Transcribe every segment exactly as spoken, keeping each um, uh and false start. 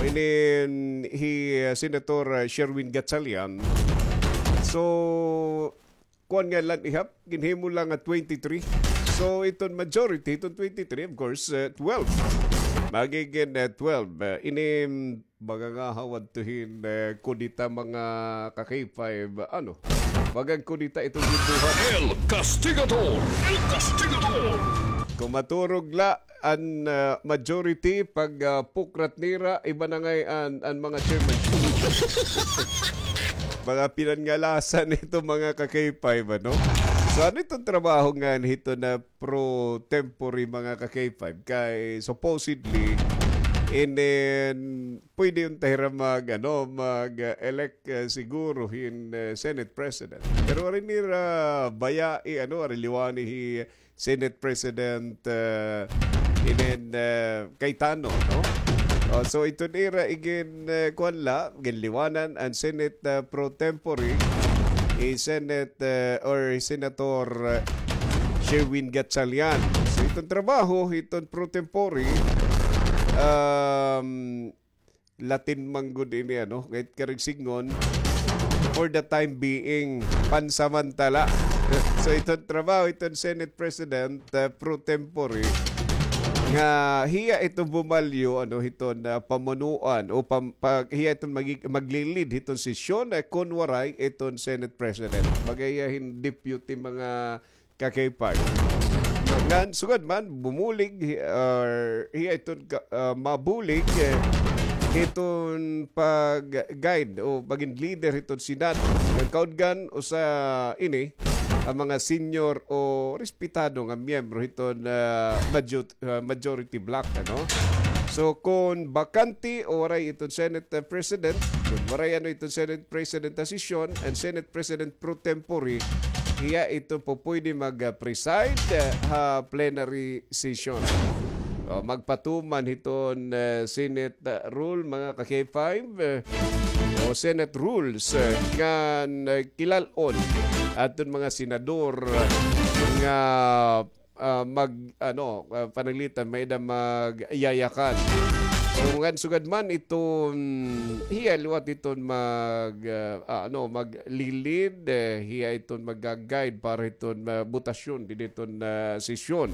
Nin hi, uh, Senator, uh, Sherwin Gatchalian. So, kuan nga la ihap, ginhimo la nga twenty-three. So, iton majority, iton twenty-three, of course, uh, twelve. Magigin, uh, twelve. Uh, ini, mm, baga nga hawad to hin, uh, kudita mga ka-K five, ano? Baga kudita iton ginbuhat. El Castigador! El Castigador! Kung maturog la, an, ah, majority pag, ah, pukrat nira, iba na ngay-an an mga chairman. Mga pinangalasan nito, mga ka-K five, ano? So, ano iton trabaho nga hito na pro tempore, mga ka-K five? Kay supposedly, inin, pwede unta hira mag, ano, mag, ah, elect, ah, siguro hin, ah, Senate President. Pero ari nira bayai, ano, ari liwani hi Senate President, uh, inin, uh, Cayetano, no? Oh, so iton ira igin, uh, kuan la, ginliwanan an Senate, uh, pro tempore, hi Senate, uh, or Senator, uh, Sherwin Gatchalian. So iton trabaho, iton pro tempore, um, Latin man gud ini, ano, ngay-an karon sidngon, for the time being, pansamantala. So, iton trabaho, iton Senate President, uh, pro tempore, nga hiya iton bumalyo, ano, hiton, uh, pamunuan, o pam-, pag, hiya iton magi-, maglilid hiton sesyon, uh, kon waray iton Senate President. Baga hiya hin deputy mga ka-K five. Ngan sugad man, bumulig, hi-, or hiya iton ka-, ah, mabulig, eh, hiton pag-guide o pagin leader hiton Senado. Ngan kaudgan usa ini, an mga senior o respetado nga miyembro hiton, ah, majut-, ah, majority bloc, ano? So, kon bakante o waray iton Senate, ah, President, kon waray, ano, iton Senate President ha sesyon, an Senate President pro tempore, hiya ito po pwede mag-preside, ah, ha plenary session. O, magpatuman hiton, ah, Senate, ah, rule, mga ka-K five, eh, o Senate rules, eh, ngan, eh, kilal-on aton mga senador, eh, nga ah, mag, ano, ah, pananglitan, may-ada magyayakan. So, ngan sugad man iton, hiya liwat iton mag, ah, ah, ano, maglilid, eh, hiya iton mag-guide para iton, ah, botasyon, dinhi iton, ah, sesyon.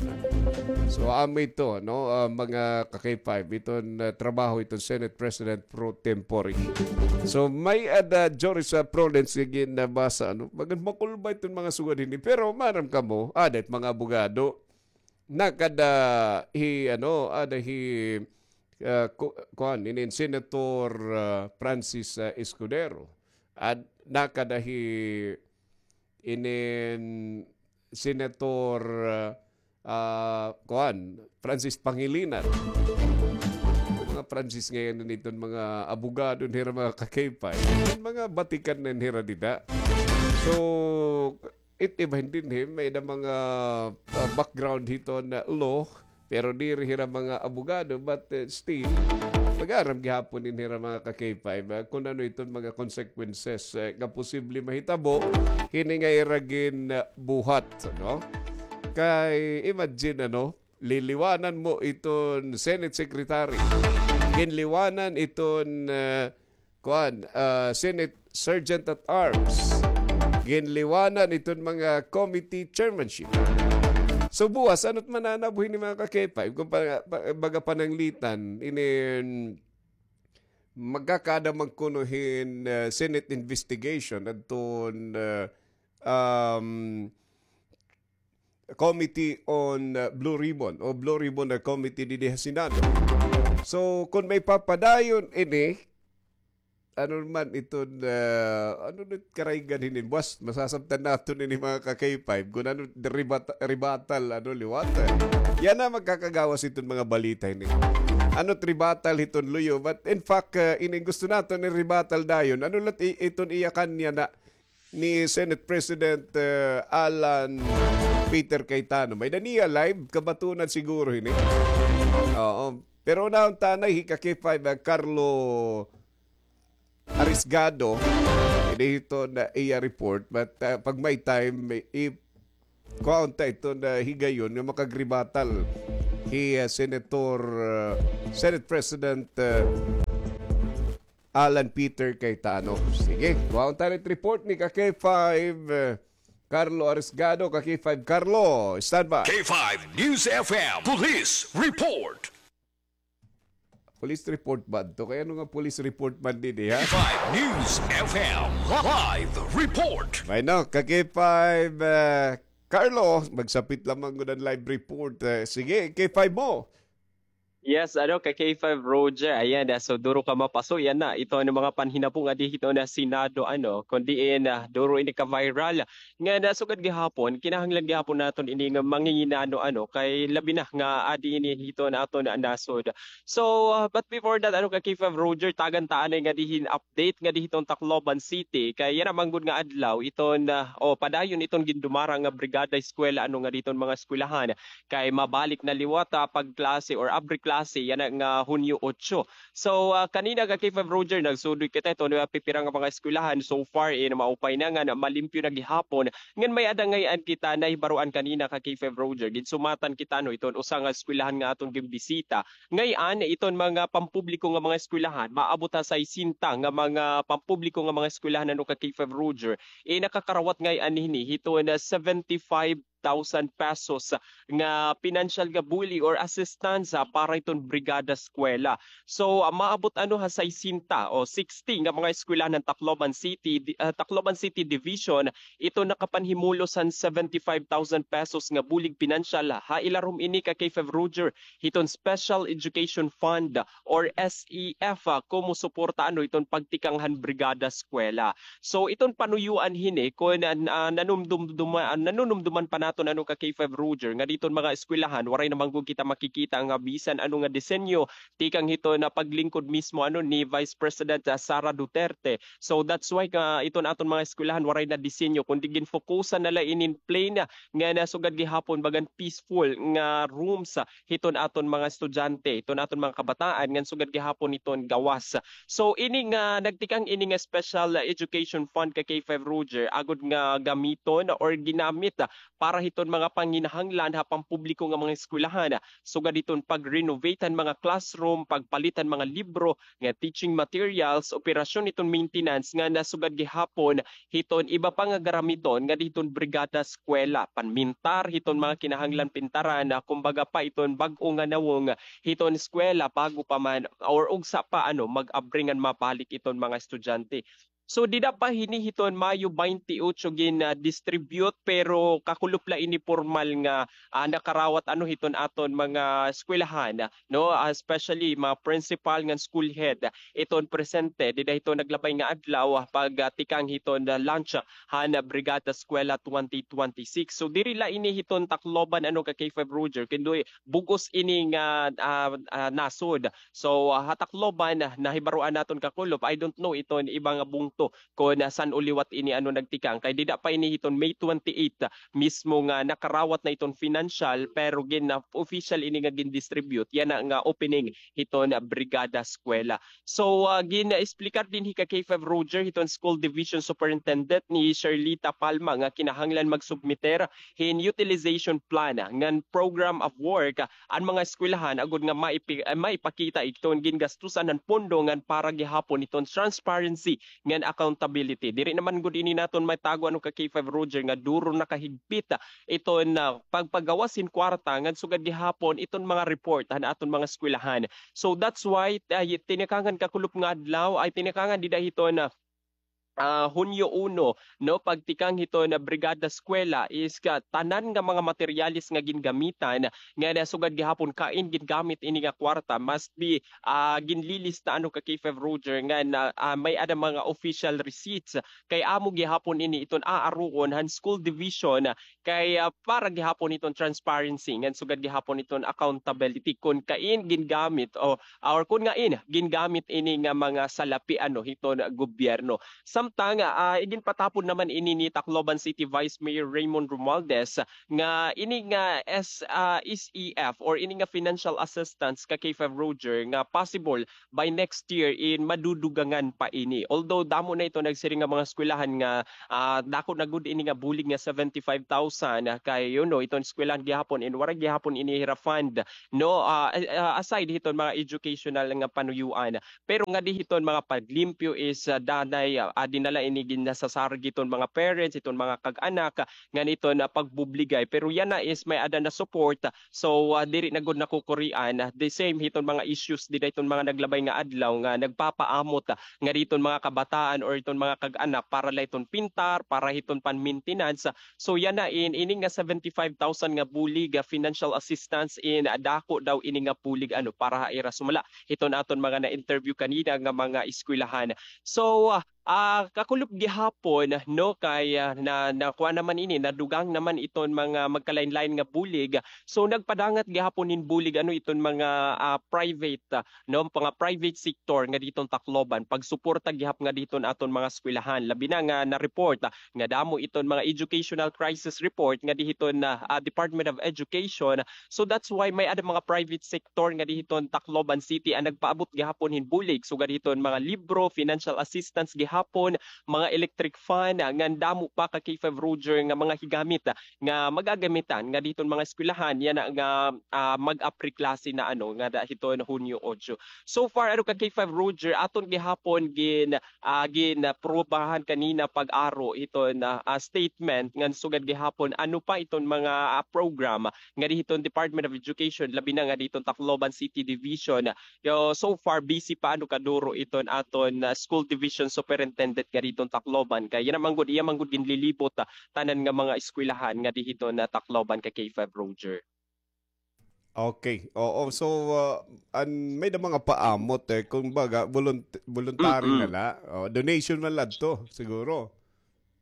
So, amo ito, no, ah, mga ka-K five, iton, ah, trabaho iton Senate President pro tempore. So, may-ada, Joris, ah, Prudence, nga ginabasa, ano, bagan makulba iton mga sugad hini. Pero, maaram kamo, aada it mga abogado. Nakada hi, ano, ada hi, ah, ku-, kuan, inin Senator, ah, Francis, ah, Escudero. At nakada hi inin Senator, ah, ah, kuan, Francis Pangilinan. Mga Francis ngay-an iton mga abogado nira, mga ka-K five. Mga batikan na nira dida. So, it iba dinhi, may-ada mga, ah, background hiton law, pero diri hira mga abogado, but, eh, still, mag-aram gihapon ini hira mga ka-K five, ah, kun ano iton mga consequences, eh, nga posible mahitabo, hini nga ira gin, ah, buhat, no? Kay, imagine, ano, liliwanan mo iton Senate Secretary, ginliwanan iton, ah, kuan, ah, Senate Sergeant at Arms, ginliwanan iton mga committee chairmanship. So, buwas, ano't mananabo hini mga ka-K five? Kung pa-, pa-, baga pananglitan, inin magkakaada man kuno hin, ah, Senate investigation adton, ah, um, Committee on, uh, Blue Ribbon o Blue Ribbon na committee didi ha Senado. So, kon maipapadayon ini, ano man iton, uh, ano na it Karaygan hini, buwas, masasabtan naton ini mga ka-K five, kon ano, rebut-, rebuttal, ano, liwat, eh. Yana magkakagawas iton mga balita hini. Ano it rebuttal hiton luyo, but in fact, uh, ini gusto naton i-rebuttal dayon. Ano la it i-, iton iyakan niya na ni Senate President, eh, Alan Peter Cayetano. May-ada niya live, kabatunan siguro hini. Oo. Pero unahon ta anay hi ka-K five, eh, Carlo Arisgado, ini hiton iya report, but, eh, pag may time, may i-, kuhaon ta iton higayon nga makag-rebuttal hi, eh, Senator, eh, Senate President, eh, Alan Peter Cayetano. Sige, kuhaon ta it report ni ka K five, eh, Carlo Arisgado. Ka K five Carlo, stand by. K five News F M Police Report. Police report ba to? Kay ano nga police report man dinhi, ha? K five News F M live report. May no, ka K five, eh, Carlo, magsapit lamang gud an live report. Eh, sige, K five mo. Yes, ano, ka K five Roger. Ayan, ah, so duro ka mapaso. Yan na, ito ano mga panhinabo nga di hito na Senado, ano, kundi in, ah, duro ini ka viral. Nga nasugad gihapon, kinahanglan gihapon naton ini nga manginginano, ano, kay labi na nga adi ini hiton aton nasod. So, ah, but before that, ano, ka K five Roger, tagan ta anay nga dihin update nga dihiton Tacloban City. Kay yana man gud nga adlaw, iton, ah, o, padayon iton gindumara nga brigada eskwela, ano, nga diton mga eskwelahan. Kay mabalik na liwat, ah, pagklase or abre klase, yana nga Hunyo otso. So, ah, kanina ka K five Roger, nagsudoy kita iton, ah, pipira nga mga eskwelahan. So far, eh, maupay na nga, na malimpyo na gihapon. Ngan may-ada ngay-an kita nahibaroan kanina ka K five Roger. Ginsumatan kita, no, iton usa nga eskwelahan nga aton ginbisita. Ngay-an, iton mga pampubliko nga mga eskwelahan, maabot ha saysenta nga mga pampubliko nga mga eskwelahan, ano, ka K five Roger, eh, nakakarawat ngay-an hini hiton seventy-five thousand pesos nga pinansyal nga bulig or assistance, ah, para iton Brigada Eskwela. So, ah, maabot, ano, ha saysenta o sixty nga mga eskwelahan han Tacloban City, di-, ah, Tacloban City Division, ito nakapanhimulos han seventy-five thousand pesos nga bulig pinansyal. Ha ilarom ini ka K five Roger, hiton Special Education Fund or S E F, ah, komo suporta, ano, iton pagtikang han Brigada Eskwela. So, iton panuyoan hini, kon, ah, ah, nanumdumduma-, ah, nanunumduman pa naton, ano, ka K five Roger, nga diton mga eskwelahan, waray na man gud kita makikita nga bisan ano nga disenyo, tikang hiton paglingkod mismo, ano, ni Vice President, ah, Sara Duterte. So, that's why ka iton aton mga eskwelahan, waray na disenyo, kundi ginfokusan na la inin plain, ah, nga nasugad gihapon bagan peaceful nga rooms, ah, hiton aton mga estudyante, hiton aton mga kabataan, ngan sugad gihapon hiton gawas. So, ini nga nagtikang ini nga Special Education Fund ka K five Roger, agod nga gamiton or ginamit, ah, para hiton mga panginahanglan ha pampubliko nga mga eskwelahan, ah, sugad hiton pag-renovate han mga classroom, pagpalit han mga libro, nga teaching materials, operasyon hiton maintenance nga nasugad gihapon hiton iba pa nga garamiton nga diton Brigada Eskwela, panmintar hiton mga kinahanglan pintaran, ah, kumbaga pa iton bag-o nga nawong hiton eskwela bago pa man or ugsa pa, ano, mag-abri ngan mabalik iton mga estudyante. So, dida pa hini hiton Mayo twenty-eight gin, ah, distribute, pero kakulop la ini pormal nga, ah, nakarawat, ano, hiton aton mga eskwelahan, no, ah, especially mga principal ngan school head, iton presente dida hiton naglabay nga adlaw, ah, pag, ah, tikang hiton, ah, launch, ah, han Brigada Eskwela twenty twenty-six. So, diri la ini hiton Tacloban, ano, ka K five Roger, kundi bug-os ini nga, ah, ah, nasod. So, ah, ha Tacloban, ah, nahibaroan naton kakulop, I don't know iton iba nga bungto kon, ah, san-o liwat ini, ano, nagtikang. Kay dida pa ini hiton May twenty-eight, ah, mismo nga nakarawat na iton financial, pero gin, ah, official ini nga gin-distribute, yana nga opening hiton, ah, Brigada Eskwela. So, ah, gin-explicar dinhi ka K five Roger hiton School Division Superintendent ni Sherlita Palma nga kinahanglan magsubmiter hin utilization plan, ah, ngan program of work, ah, an mga eskwelahan agod nga maipi-, ah, maipakita iton gingastusan han pondo ngan para gihapon iton transparency ngan accountability. Diri naman gud ini naton maitago, ano, ka K five Roger, nga duro na kahigpit, ah, iton, ah, pagpagawas hin kwarta ngan sugad gihapon iton mga report han aton mga eskwelahan. So that's why, ah, tinikangan kakulop nga adlaw, ay tinikangan dida hiton, ah, ah, Hunyo uno, no, pagtikang hiton Brigada Eskwela is ka, tanan nga mga materyales nga gingamitan nga nasugad gihapon kain gingamit ini nga kwarta must be, ah, ginlilista, ano, ka K five Roger, nga na, ah, may-ada mga official receipts. Kay amo gihapon ini iton aaruon han school division, ah, kay, ah, para gihapon iton transparency ngan sugad gihapon iton accountability kon kain gingamit o, or kon ngain gingamit ini nga mga salapi, ano, hiton gobyerno. Sa Samtang, ah, iginpatapon naman ini ni Tacloban City Vice Mayor Raymond Romualdez nga ini nga S, ah, S E F or ini nga financial assistance ka K five Roger nga possible by next year in madudugangan pa ini. Although damo na ito nagsiring nga mga eskwelahan nga, ah, dako na gud ini nga bulig nga seventy-five thousand, ah, kay, you know, iton eskwelahan gihapon in wara gihapon ini hira fund, no, ah, ah, aside hiton mga educational nga panuyuan. Pero ngadi hiton mga paglimpyo is, ah, danay, ah, adi na la ini ginasasarog hiton mga parents, hiton mga kag-anak, ah, ngan iton, ah, pagbubligay. Pero yana is may-ada na support, ah, so, ah, diri na gud nakukurian. Ah, the same hiton mga issues dida hiton mga naglabay nga adlaw nga nagpapaamot, ah, ngadi hiton mga kabataan or hiton mga kag-anak para la hiton pintar, para hiton pan-maintenance. Ah, so yana in, ini nga seventy-five thousand nga bulig, ah, financial assistance in, ah, dako daw ini nga bulig, ano, para ha ira sumala hiton aton mga na-interview kanina nga mga eskwelahan. So, ah, ah, kakulop gihapon, no, kay, ah, na, nakuha naman ini, nadugang naman iton mga magkalain-lain nga bulig. So, nagpadangat gihapon hin bulig, ano, iton mga, ah, private, ah, no, mga private sector ngadi hiton Tacloban, pagsuporta gihap ngadi hiton aton mga eskwelahan. Labi na nga na-report, ah, nga damo iton mga educational crisis report ngadi hiton, ah, ah, Department of Education. So that's why may-ada mga private sector ngadi hiton Tacloban City an nagpaabot gihapon hin bulig, sugad hiton mga libro, financial assistance gihapon, mga electric fan, ah, ngan damo pa ka K five Roger nga mga higamit, ah, nga magagamitan ngadi hiton mga eskwelahan yana nga, ah, mag-apreklase na, ano, ngada hiton Hunyo otso. So far, ano, ka K five Roger, aton gihapon gin ah, ginprobahan kanina pag-aro hiton, ah, ah, statement ngan sugad gihapon ano pa iton mga, ah, program ngadi hiton Department of Education, labi na ngadi hiton Tacloban City Division. Yo, so far, busy pa, ano, kaduro iton aton, ah, School Division Superintendent ngadi hiton Tacloban. Kay yana man gud, iya man gud ginlilibot, ah, tanan nga mga eskwelahan ngadi hiton, ah, Tacloban ka K five Roger. Okay. Oo. So, ah, an, may da mga paamot, eh. Kumbaga, volunt-, voluntary na la. Oh, donation man la adto, siguro.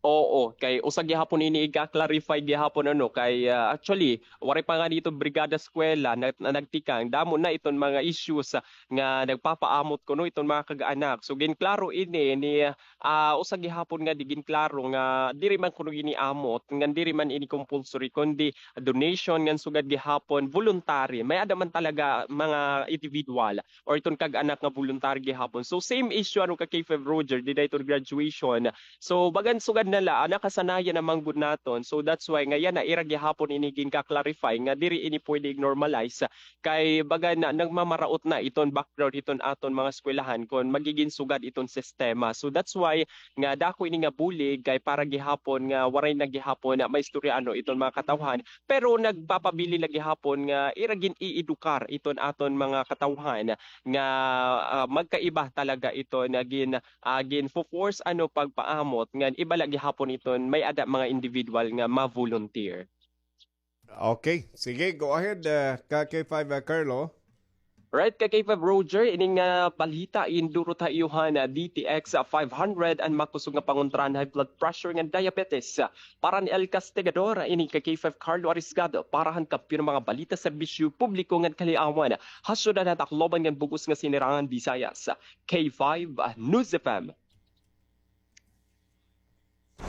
Oo, kay usa gihapon ini iga-clarify gihapon, ano, kay, ah, actually, waray pa ngani iton Brigada Eskwela na, na nagtikang. Damo na iton mga issues, ah, nga nagpapaamot kuno iton mga kag-anak. So, ginklaro ini ni, ah, usa gihapon nga di ginklaro nga diri man kuno ini amot, ngan diri man ini compulsory, kundi donation ngan sugad gihapon voluntary. May-ada man talaga mga individual or iton kag-anak nga voluntary gihapon. So same issue ano ka K five Roger, dida iton graduation. So bagan sugad na la, ah, nakasanayan na man gud naton. So that's why nga yana ira gihapon ini ginka-clarify nga diri ini pwede i-normalize. Kay baga na, nagmamaraot na iton background hiton aton mga eskwelahan kon magigin sugad iton sistema. So that's why nga dako ini nga bulig kay para gihapon nga waray na gihapon na maistorya ano iton mga katawhan, pero nagpapabilin la gihapon nga ira gin-iedukar iton aton mga katawhan nga, ah, magkaiba talaga iton gin-, ah, ginfo-force ano pagpaamot ngan iba la gihapon iton may-ada mga individual nga ma-volunteer. Okay. Sige, go ahead, ah, ka K five, ah, Carlo. Right, ka K five Roger, ini nga balita indurot ha iyo han, ah, D T X, ah, five hundred, an makusog nga pangontrahan high blood pressure ngan diabetes. Para ni El Castigador, ini ka K five Carlo Arisgado, para han kampiyon nga mga balita, serbisyo publiko ngan kaliawan ha syudad han Tacloban ngan bug-os nga Sinirangan Visayas. K five, ah, News F M.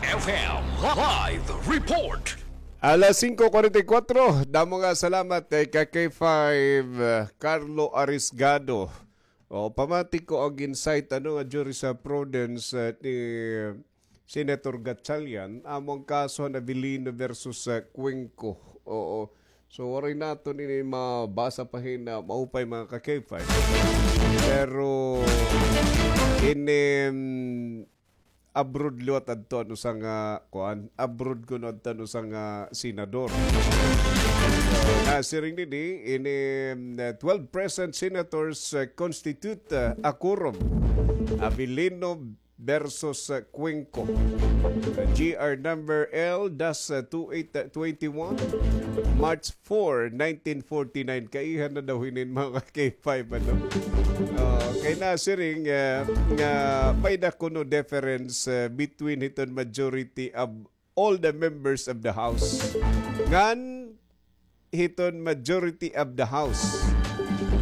F M Live Report. Alas singko kwarenta y kuwatro, damo nga salamat, eh, ka K five, eh, Carlo Arisgado. O, pamati ko an gin-cite, ano, nga jurisprudence, eh, ni Senator Gatchalian, amo an kaso han Avellino versus, eh, Cuenco. Oo. So, waray naton ini mabasa pa hin, ah, maupay, mga ka K five. Pero, ini, mm, abroad liwat adto an usa nga, kuan, abroad kuno adto an usa nga senador. So, nasiring dinhi, ini, mm, twelve present senators, uh, constitute, uh, a quorum. Avellino versus, uh, Cuenco. Uh, G R number L dash, uh, two eight, uh, twenty-one, March four, nineteen forty-nine. Kaiha na daw hinin, mga K five, ano? Uh, kay nasiring, uh, nga may-ada kuno difference, uh, between hiton majority of all the members of the House ngan hiton majority of the House,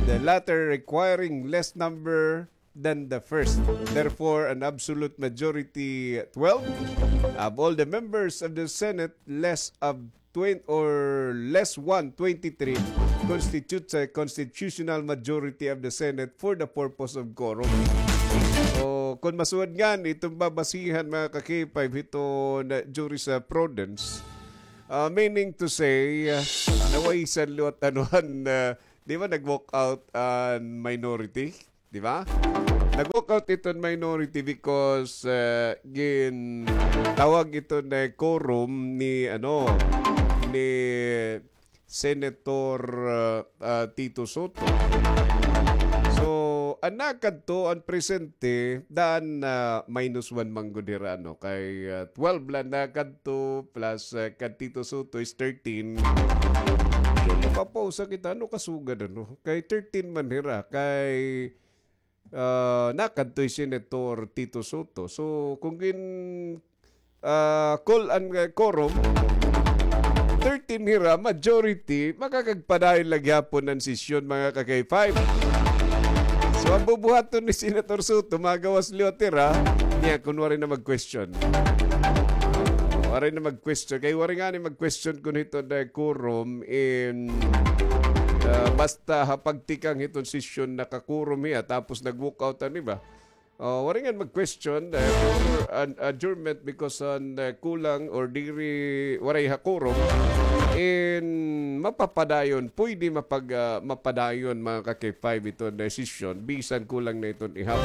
the latter requiring less number than the first. Therefore, an absolute majority, twelve, of all the members of the Senate, less of twenty or less one, twenty-three, constitutes a constitutional majority of the Senate for the purpose of quorum. So, kung masuwad ngani iton babasihan, mga ka-K five, hiton, uh, jurisprudence, uh, meaning to say, uh, nawaisan liwat anuhan, uh, di ba, nag-walk out an minority? Di ba? Nag-walk out iton minority because, uh, gintawag iton na quorum ni, ano, ni Senator, uh, uh, Tito Soto. So, an nakadto, an presente, daan, uh, minus one man gud hira, no? Kay, uh, twelve la nakadto, plus, uh, kan Tito Soto is thirteen. So, mapapausa kita, ano kasugad, ano? Kay thirteen man hira, kay ah, nakadto hi Senator Tito Soto. So, kung gin, ah, call an, ah, quorum, thirteen hira, majority, makakagpadayon la gihapon an sesyon, mga ka-K five. So, an bubuhaton ni Senator Soto, magawas liwat hira, niya, kun waray na mag-question. Waray na mag-question. Kay waray ngani mag-question kun hiton na quorum in, ah, basta ha pagtikang hiton sesyon naka-quorum hiya, tapos nag-walk out an iba. Oh, waray ngani mag-question, eh, for an adjournment because an, eh, kulang or diri, waray ha quorum, in mapapadayon, pwede mapag-, ah, mapadayon, mga ka-K five, iton decision, bisan kulang na iton ihap.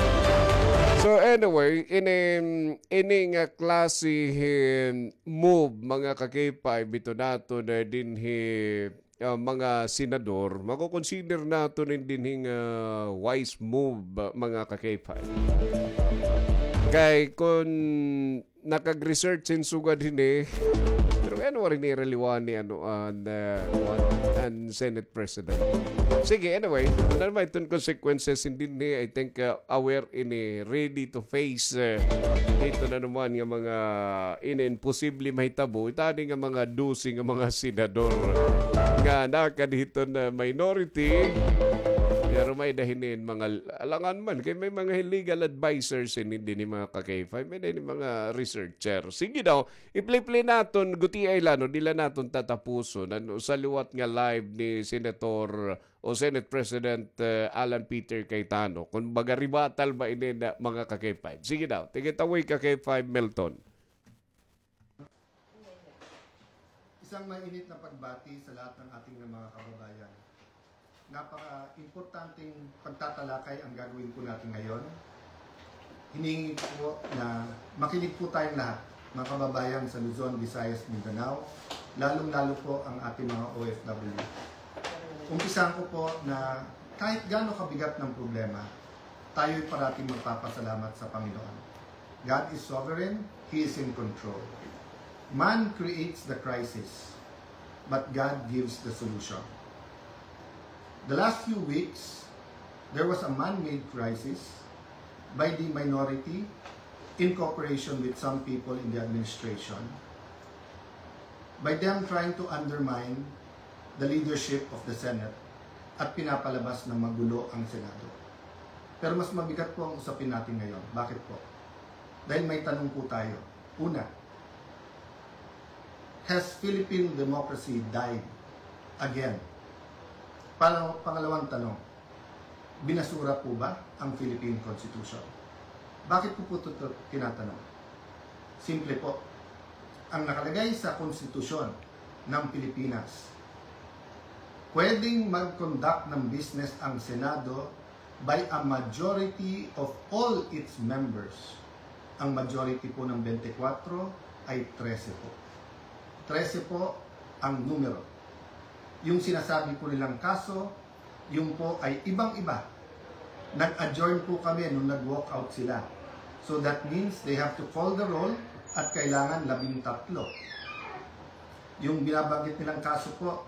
So, anyway, ini, ini nga klase hin move, mga ka-K five, ito naton dinhi, ah, mga senador, mako-consider naton in dinhi nga wise move, ah, mga ka-K five. Kay kun nakag-research hin sugad hini, pero ano, waray nira liwani, ano, an, ah, an Senate President. Sige, anyway, ano naman iton consequences hin dinhi, I think, ah, aware ini, ready to face, eh, ito na naman nga mga ini imposible mahitabo. Itani nga mga dose nga mga senador nga nakadto hiton minority. Pero may-ada hini mga alangan man. Kay may mga legal advisors ini dinhi, mga ka-K five. May-ada hini mga researcher. Sige daw, i-play-play naton, gutiay la, no, diri la naton tatapuson. Ano, sa liwat nga live ni Senator o Senate President, eh, Alan Peter Cayetano. Kumbaga, rebuttal ba ini na, mga ka-K five? Sige daw, take it away, ka-K five Milton. Isang mainit na pagbati sa lahat ng ating mga kababayan. Napaka-importanteng pagtatalakay ang gagawin po natin ngayon. Hinihingi ko po na makinig po tayong lahat, mga kababayan sa Luzon, Visayas, Mindanao, lalong-lalo po ang ating mga O F W. Umpisahan ko po na kahit gaano kabigat ng problema, tayo'y parating magpapasalamat sa Panginoon. God is sovereign, He is in control. Man creates the crisis, but God gives the solution. The last few weeks, there was a man-made crisis by the minority in cooperation with some people in the administration, by them trying to undermine the leadership of the Senate at pinapalabas na magulo ang Senado. Pero mas mabigat po ang usapin natin ngayon. Bakit po? Dahil may tanong po tayo. Una, has Philippine democracy died again? Pang-, pangalawang tanong, binasura po ba ang Philippine Constitution? Bakit ko po ito tinatanong? Simple po. Ang nakalagay sa Konstitusyon ng Pilipinas, pwedeng mag-conduct ng business ang Senado by a majority of all its members. Ang majority po ng twenty-four ay trese po. Trese po ang numero. Yung sinasabi po nilang kaso, yun po ay ibang-iba. Nag-adjourn po kami nung nag-walk out sila. So that means they have to call the roll at kailangan labing tatlo. Yung binabanggit nilang kaso po,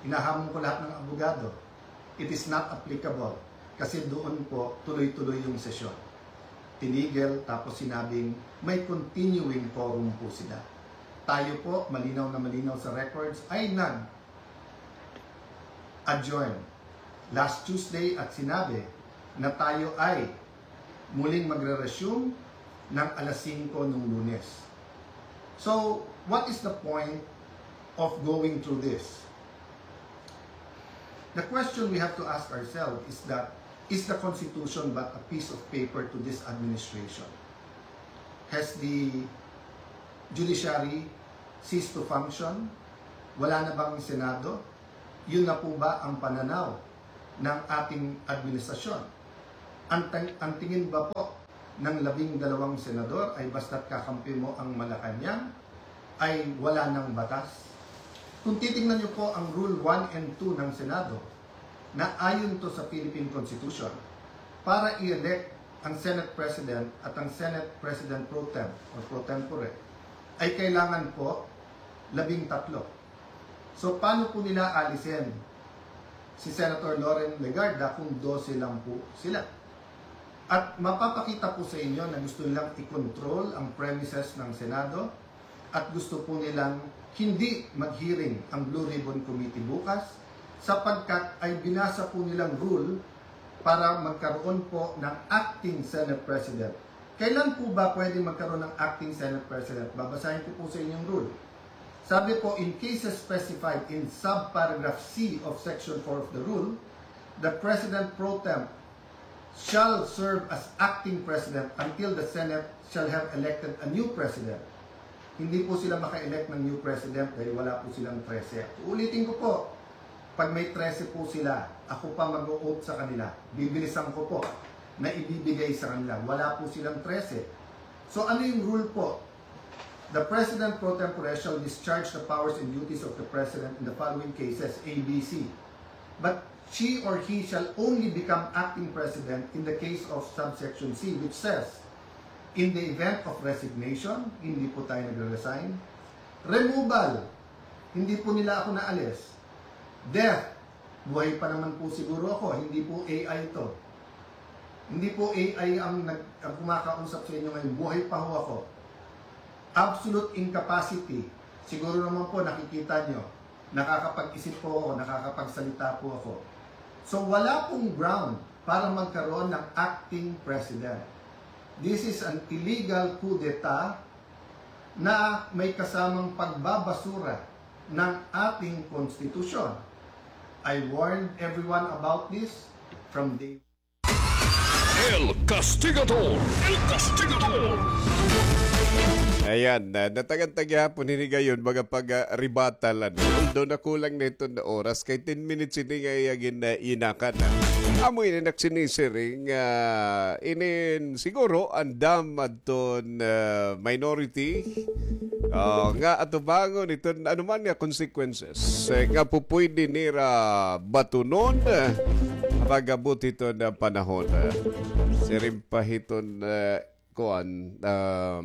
hinahamon ko lahat ng abogado. It is not applicable kasi doon po tuloy-tuloy yung sesyon. Tinigil, tapos sinabing may continuing quorum po sila. Tayo po, malinaw na malinaw sa records, ay nag-adjourn last Tuesday at sinabi na tayo ay muling magre-resume ng alas singko nung Lunes. So, what is the point of going through this? The question we have to ask ourselves is that, is the Constitution but a piece of paper to this administration? Has the judiciary ceased to function? Wala na bang Senado? Yun na po ba ang pananaw ng ating administrasyon? Ang, ang tingin ba po ng labing dalawang senador ay basta't kakampi mo ang Malacañang ay wala ng batas? Kung titingnan niyo po ang Rule one and two ng Senado, na ayon to sa Philippine Constitution, para i-elect ang Senate President at ang Senate President pro tem or pro tempore, ay kailangan po labing tatlo. So, paano po nila alisin si Senator Loren Legarda kung dose lang po sila? At mapapakita po sa inyo na gusto nilang i-control ang premises ng Senado at gusto po nilang hindi mag-hearing ang Blue Ribbon Committee bukas sapagkat ay binasa po nilang rule para magkaroon po ng acting Senate President. Kailan po ba pwede magkaroon ng acting Senate President? Babasahin ko po sa inyong rule. Sabi po, in cases specified in subparagraph C of Section four of the rule, the President pro tem shall serve as acting president until the Senate shall have elected a new president. Hindi po sila maka-elect ng new president dahil wala po silang trese. Uulitin ko po, pag may trese po sila, ako pa mag-o-oath sa kanila. Bibilisan ko po na ibibigay sa kanila. Wala po silang trese. So ano yung rule po? The President pro tempore shall discharge the powers and duties of the President in the following cases, A B C. But she or he shall only become acting president in the case of subsection C, which says, in the event of resignation, hindi po tayo nagre-resign. Removal, hindi po nila ako naalis. Death, buhay pa naman po siguro ako, hindi po A I ito. Hindi po A I ang, nag, ang kumakausap sa inyo ngayon, buhay pa ho ako. Absolute incapacity, siguro naman po nakikita nyo, nakakapag-isip po ako, nakakapagsalita po ako. So wala pong ground para magkaroon ng acting president. This is an illegal coup d'etat na may kasamang pagbabasura ng ating konstitusyon. I warned everyone about this from day El Castigador. El Castigador. Ayan, na, natagantag gihapon hini gayon, mga pag-, ah, rebuttal, ano. Although nakulang na iton oras, kay ten minutes ini nga iya gin-, ah, inakan, ah. Amo ini nagsinisiring, ah, inin siguro andam adton, ah, minority, ah, nga atubangon iton ano man nga consequences, eh, nga pupwede nira batunon, eh, pag-abot hiton, ah, panahon, eh. Siring pa hiton, eh, kuan, um,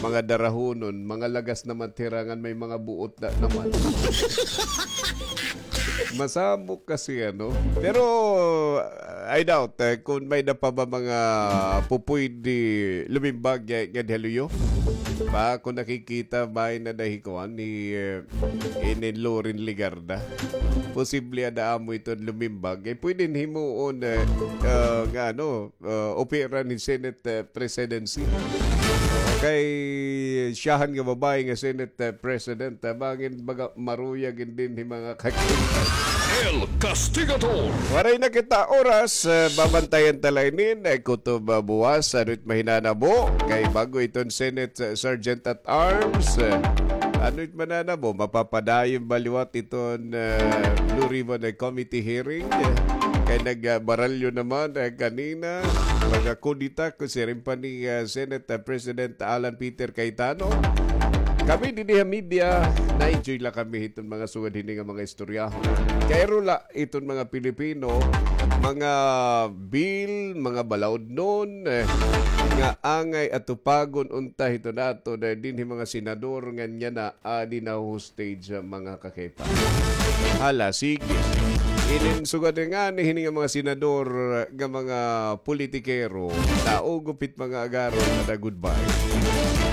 mga darahonon, mga lagas naman hira ngan may mga buot na naman. Masamok kasi, ano. Pero, uh, I doubt, eh, kung may-ada pa ba mga pupwede lumimbag, eh, nga dihaluyo. Ba, kung nakikita, may na dahi kuan ni, eh, ini Loren Legarda. Posible ada amo iton lumimbag. Eh, pwede himuon, eh, ah, nga, ano, ah, opera ni Senate, eh, presidency. Kay siyahan nga babaye nga Senate, eh, President, ah, bangin baga maruyag in dinhi mga kakita. El Castigador. Waray na kita oras, eh, babantayan ta la inin, eh, kutob, ah, buwas, ano it mahinanabo, kay bag-o iton Senate, eh, Sergeant at Arms, eh, ano it mananabo, mapapadayon ba liwat iton, eh, Blue Ribbon, eh, Committee hearing, eh, kay nagbaralyo naman, eh, kanina, mga kudita, kun siring pa ni, eh, Senate, eh, President Alan Peter Cayetano. Kami dinhi ha media, na-enjoy la kami hiton mga sugad hini nga mga istorya. Kay aro la iton mga Pilipino, mga bil, mga balaodnon, eh, nga angay atupagon unta hiton aton dinhi mga senador ngan yana, ah, adi na-hostage, ah, mga kakaipa. Hala, sige. Inin sugad ngani hini nga mga senador, nga mga politikero, naugop it mga agaron, ada goodbye.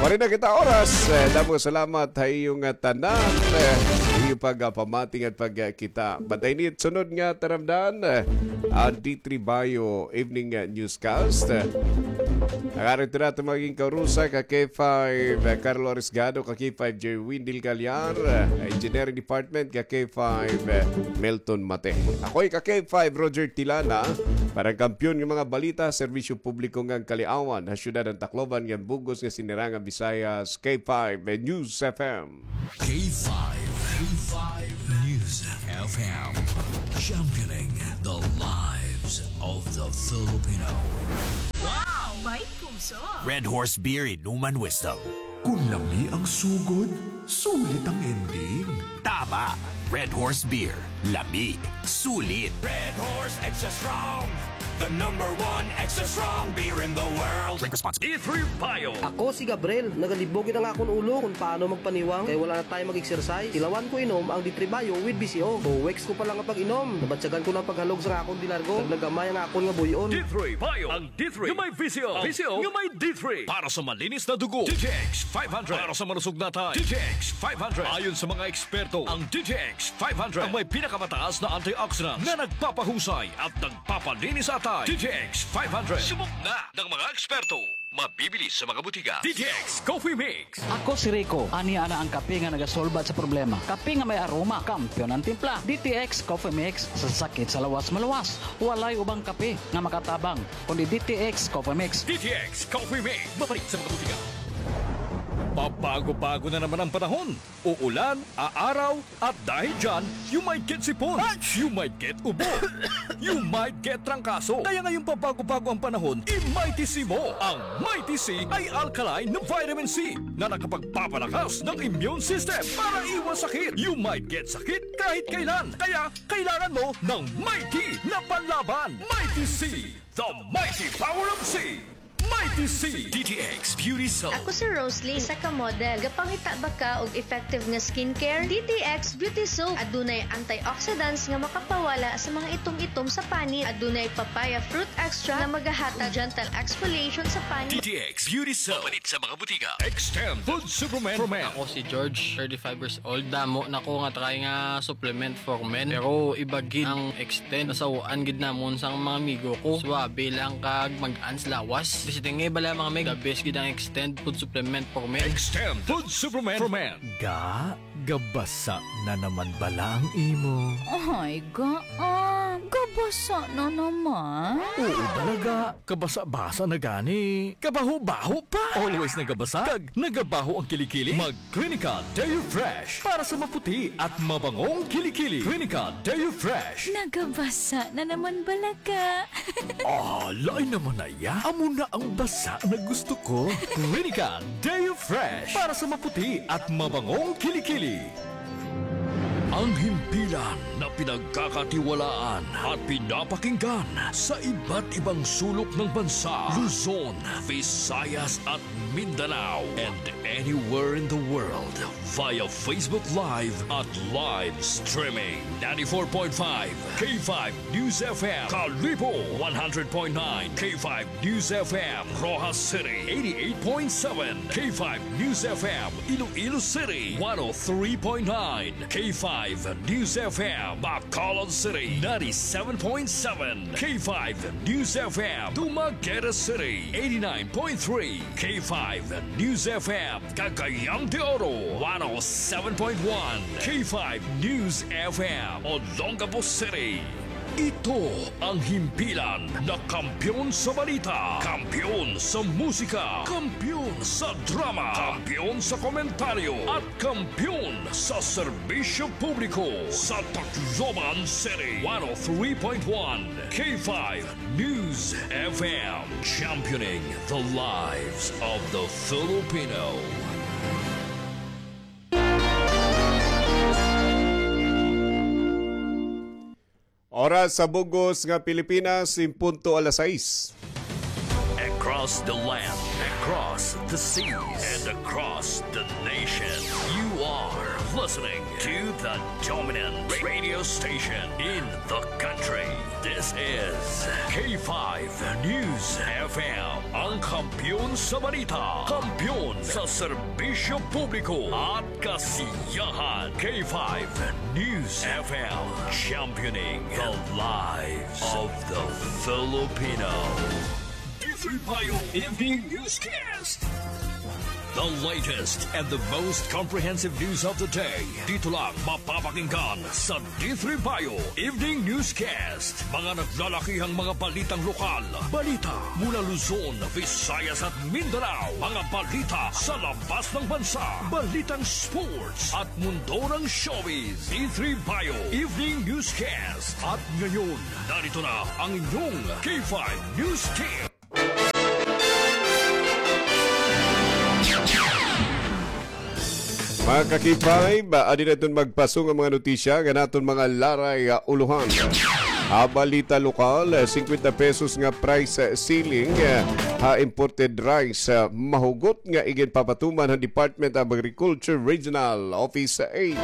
Waray na kita oras. Eh, damo salamat ha iyo nga tanan. Eh, pagpamati ngan pagkita. Bantay ini it sunod nga taramdan, ah, an D three Bayo Evening, ah, Newscast. Ah, an aton maging kaurusa ka K five, ah, Carlo Arisgado, ka K five Jerwin Del Callar, ah, Engineering Department ka K five, ah, Milton Mate. Ako it ka K five Roger Tilana, para han kampiyon nga mga balita, serbisyo publiko ngan kaliawan ha syudad han Tacloban ngan bug-os nga sinirangan Visayas, K five News F M. K five, K five News F M, championing the lives of the Filipino. Wow! May puso! Red Horse Beer, inuman wisdom. Kung lami ang sugod, sulit ang ending. Tama! Red Horse Beer, lami, sulit. Red Horse Extra Strong, the number one extra strong beer in the world. Drink responsibly. D three Bio. Ako si Gabriel. Nagalibog gid an akon ulo kon paano magpaniwang kay wala na tayo mag-exercise. Tilawan ko inom ang D three Bio with V C O. Two weeks ko pa lang nga pag-inom, nabatyagan ko na an paghalog sa akon delargo. Nagnagamay ang akon nga buy-on. D three Bio. Ang D three nga may V C O. V C O nga may D three. Para sa malinis na dugo, D T X five hundred. Para sa malusog na atay, D T X five hundred. Ayon sa mga eksperto, ang D T X five hundred ang may pinakamataas na antioxidants na nagpapahusay at nagpapalinis sa atay. D T X five hundred. Subok na ng mga eksperto. Mabibili sa mga butika. D T X Coffee Mix. Ako si Rico. Ania na an kape nga nagasolba sa problema. Kape nga may aroma, kampiyon an timpla. D T X Coffee Mix, sa sakit sa lawas maluwas. Walay ubang kape nga makatabang kundi D T X Coffee Mix. D T X Coffee Mix. Mapalit sa mga butika. Pabago-bago na naman ang panahon. Uulan, aaraw, at dahil dyan, you might get sipon, you might get ubo, you might get trangkaso. Kaya ngayong pabago-bago ang panahon, i-Mighty C mo. Ang Mighty C ay alkaline na vitamin C na nakapagpapalakas ng immune system para iwas sakit. You might get sakit kahit kailan. Kaya kailangan mo ng Mighty na panlaban. Mighty C, the mighty power of C. Mighty C. D T X Beauty Soap. Ako si Rosalie, isa ka model. Gapangita ba ka og effective nga skincare? D T X Beauty Soap. Adunay antioxidants nga makapawala sa mga itom-itom sa panit. Adunay papaya fruit extract nga magahatag gentle exfoliation sa panit. D T X Beauty Soap. Mapalit sa mga butika. Extend Food Supplement for Men. Ako si George, thirty-five years old. Damo na ko nga try nga supplement for men. Pero iba gid ang Extend. Nasaw-an gid namon sang mga amigo ko. Suabe lang kag mag-an sa lawas. Basta nga bala, mga meg, the best gid ang Extend food supplement for men. Extend food supplement for men. Ga, gabasa na naman bala ang imo. Ay, ga, ah, gabasa na naman. Oo, bala, ga. Kabasa-basa na gani. Kabaho-baho pa. Always nagabasa. Kag nagabaho ang kilikili. Mag Clinica Deo Fresh para sa maputi at mabangong kilikili. Clinica Deo Fresh. Nagabasa na naman bala ka. Ah, lain naman na iya. Amo na ang basa na gusto ko. Clinica Deo Fresh para sa maputi at mabangong kilikili. Ang himpilan na pinagkakatiwalaan at pinapakinggan sa iba't ibang sulok ng bansa, Luzon, Visayas at Mindanao, and anywhere in the world via Facebook Live at live streaming. Ninety-four point five K five News F M, Kalibo, one hundred point nine K five News F M, Roxas City, eighty-eight point seven K five News F M, Iloilo City, one oh three point nine K five News F M, Bacolod City, ninety-seven point seven K five News F M, Dumaguete City, eighty-nine point three K five News F M, Cagayan de Oro, one oh seven point one K five News F M, Olongapo City. Ito ang himpilan na kampiyon sa balita, kampiyon sa musika, kampiyon sa drama, kampiyon sa komentaryo, at kampiyon sa serbisyo publiko sa Tacloban City. One oh three point one K five News F M, championing the lives of the Filipino. Oras sa bug-os nga Pilipinas, en punto alas sais. Across the land, across the seas, and across the nation, you are listening to the dominant radio station in the country. This is K five News F M, ang kampiyon sa balita, kampiyon sa serbisyo publiko at kasiyahan. K five News F M, championing the lives of the Filipino. D three Bio Evening Newscast. The latest and the most comprehensive news of the day. Dito lang mapapakinggan sa D three Bio Evening Newscast. Mga naglalakihang mga balitang lokal. Balita mula Luzon, Visayas at Mindanao. Mga balita sa labas ng bansa. Balitang sports at mundo ng showbiz. D three Bio Evening Newscast. At ngayon, narito na ang inyong K five News Team. Mga ka-K five, ah, adi na iton magpasong nga mga notisya nga naton mga laray, ah, ulohan. Ha balita lokal, ah, singkwenta pesos nga price, ah, ceiling, ah, ha imported rice, ah, mahugot nga iginpapatuman han Department of Agriculture Regional Office eight.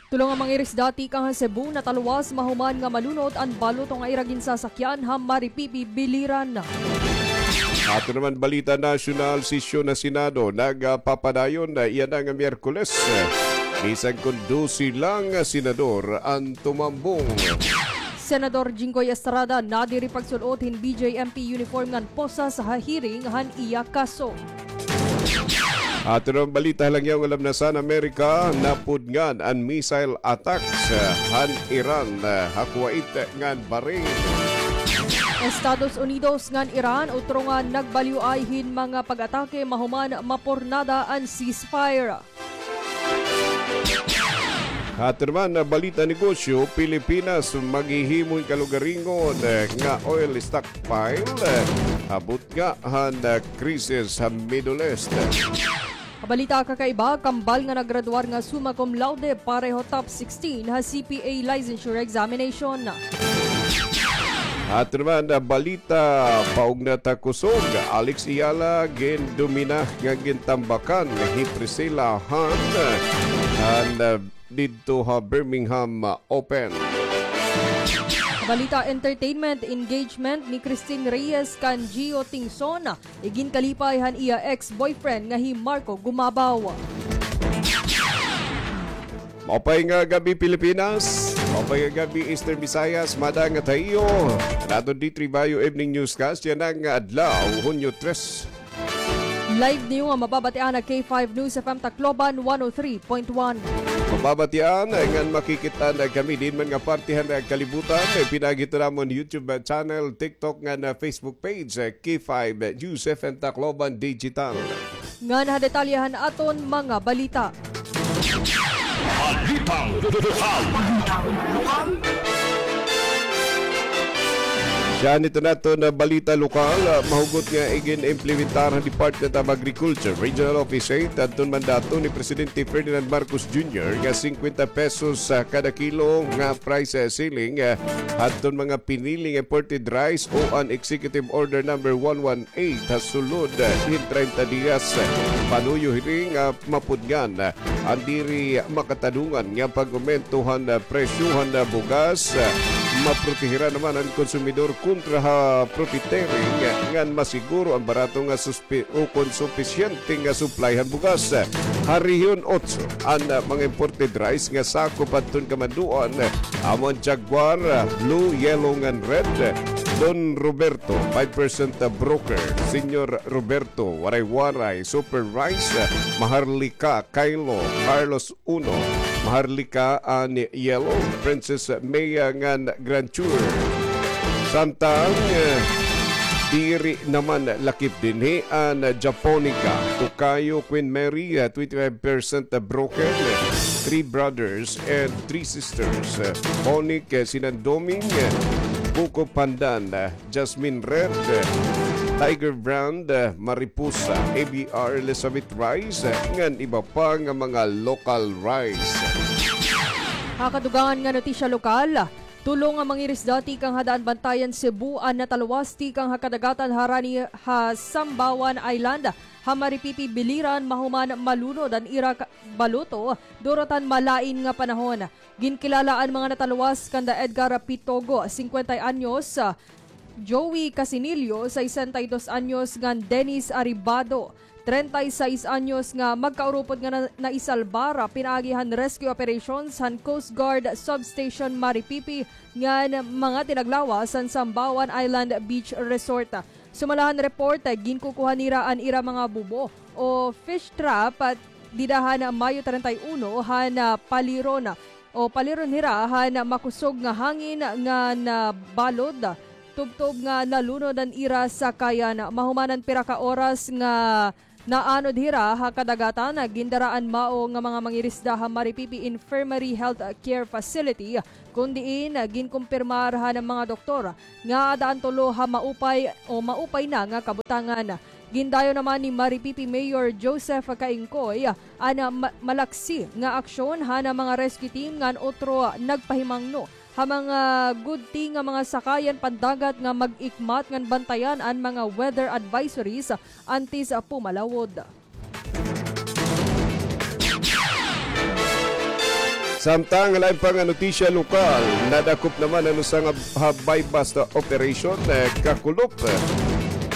Tulo nga mga irisda tikang ha Cebu natalwas mahuman nga malunot an baluto nga ira ginsasakyan ha Maripipi, Biliran. Aton naman balita nasyonal, sesyon ha Senado nagpapadayon na iya na nga Miyerkules. Bisan kon dose lang nga senador an tumambong. Senador Jinggoy Estrada nadiri pagsul-ot hin B J M P uniform ngan posas ha hearing han iya kaso. Aton naman balita ha langyaw nga lamnasan, Amerika, napudngan an missile attacks, ah, han Iran, ah, ha Kuwait ngan Bahrain. Estados Unidos ngan Iran utro nga nagbaliw-ay hin mga pag-atake mahuman mapurnada an ceasefire. Aton naman, ah, balita negosyo, Pilipinas maghihimo hin kalugaringon, eh, nga oil stockpile, eh, ha butnga han, ah, krisis ha Middle East. Ha balita kakaiba, kambal nga naggraduar nga summa cum laude pareho top sixteen ha C P A licensure examination. Aton naman, ah, balita, paugnat ha kusog, Alex Eala gindomina nga gintambakan hi Priscilla Han, ah, han, ah, didto ha Birmingham, ah, Open. Balita entertainment, engagement ni Christine Reyes kan Gio Tingson iginkalipay han iya ex-boyfriend nga hi Marco Gumabaw. Maupay nga gab-i, Pilipinas. Maupay nga gab-i, Eastern Visayas. Madangat ha iyo an aton D three Bio Evening Newscast yana nga adlaw, Hunyo tres. Live niyo nga mababatian ha K five News F M Tacloban one oh three point one. Mababatian ngan makikit-an kami diin man nga parte han kalibutan. Pinaagi hito namon YouTube channel, TikTok ngan Facebook page, K five News F M Tacloban Digital. Ngan ha detalye han aton mga balita. Balitang lokal. Siya nito naton nga balita lokal, ah, mahugot nga igin-implementar han Department of Agriculture Regional Office eight adton mandato ni Presidente Ferdinand Marcos Junior nga singkwenta pesos, ah, kada kilo nga price, ah, ceiling, ah, adton mga pinili nga imported rice o an Executive Order number one one eight ha sulod, eh, hin treinta diyas, eh, panuyo hini nga mapudngan, eh, an diri makatadungan nga pag-umento han, eh, presyo han, eh, bugas, eh, maprotehiran naman an konsumidor kontra ha profiteering, eh, ngan masiguro an barato nga suspi-, ukon supisyente nga supply han bugas. Ha Rehiyon otso, an, ah, mga imported rice nga sakop adton kamandoan, ah, amo an Jaguar, ah, Blue, Yellow ngan Red, ah, Don Roberto, five percent, ah, Broker, Señor Roberto, Waray-Waray, Super Rice, ah, Maharlika, Kylo, Carlos Uno, Maharlika an Yellow, Princess Maya ngan Grand Tour. Samtang, eh, diri naman lakip dinhi an Japonica, Tokayo, Queen Mary, eh, twenty-five percent Broken, eh, Three Brothers and Three Sisters, eh, Onic, eh, Sinandoming, eh, Buko Pandan, eh, Jasmine Red, eh, Tiger Brand, eh, Mariposa, A B R, Elizabeth Rice, eh, ngan iba pa nga mga local rice. Ha kadugangan nga notisya lokal, Tulo nga mangirisda tikang ha Daanbantayan, Cebu, an natalwas tikang ha kadagatan harani ha Sambawan Island, ha Maripipi, Biliran, mahuman malunod an ira ka-, baluto durot han malain nga panahon. Ginkilala an mga natalwas kanda Edgar Pitogo, singkwenta anyos, Joey Casinillo, sesenta y dos anyos, ngan Dennis Arribado, treinta y seis anyos, nga magkaurupod nga na-, naisalbar pinaagi han rescue operations han Coast Guard Substation Maripipi ngan mga tinaglawas han Sambawan Island Beach Resort. Sumala han report, ginkukuha nira an ira mga bubo o fish trap dida han Mayo treinta y uno han, ah, paliron o paliron hira han makusog nga hangin nga nabalod, tubtob nga nalunod an ira sakayan. Mahuman an pira ka oras nga naanod hira ha kadagatan, gindaraan mao nga mga mangirisda ha Maripipi Infirmary Health Care Facility, kun diin ginkumpirmar han mga doktor nga ada an tulo ha maupay o maupay na nga kabutangan. Gindayo naman ni Maripipi Mayor Joseph Caingcoy an ma-, malaksi nga aksyon han mga rescue team ngan utro nagpahimangno ha mga gudti nga mga sakayan pandagat nga mag-ikmat ngan bantayan an mga weather advisories antes pumalawod. Samtang lain pa nga notisya lokal, nadakop naman an usa nga ha buy-bust operation, eh, kakulop, eh,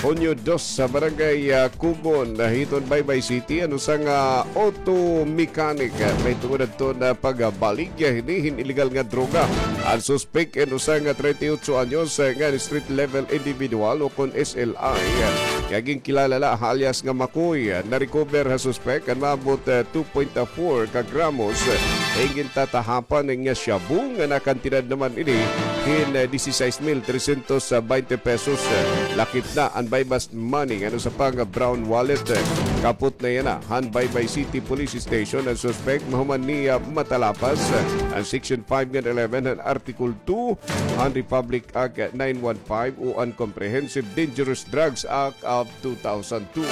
Hunyo dos sa Barangay, ah, Cubon, ah, hiton Baybay City, an usa nga auto mechanic, ah, mahitungod adto na pagbaligya hini hin illegal nga droga. An suspek in usa nga treinta y ocho anyos, ah, nga street level individual o kon S L I, ah, nga ginkilala la ha alias nga Makoy. Ah, na-recover ha suspek an maabot, ah, two point four ka gramos, ah, hin gintatahapan nga shabu nga nakantidad naman ini hin, ah, dieciséis mil trescientos bainte pesos. Ah, lakip na an buy-bust money ngan usa pa nga brown wallet. Kapot na yana han Baybay City Police Station an suspek mahuman niya matalapas an Section five ngan eleven han Article two han Republic Act nine one five o an Comprehensive Dangerous Drugs Act of two thousand two.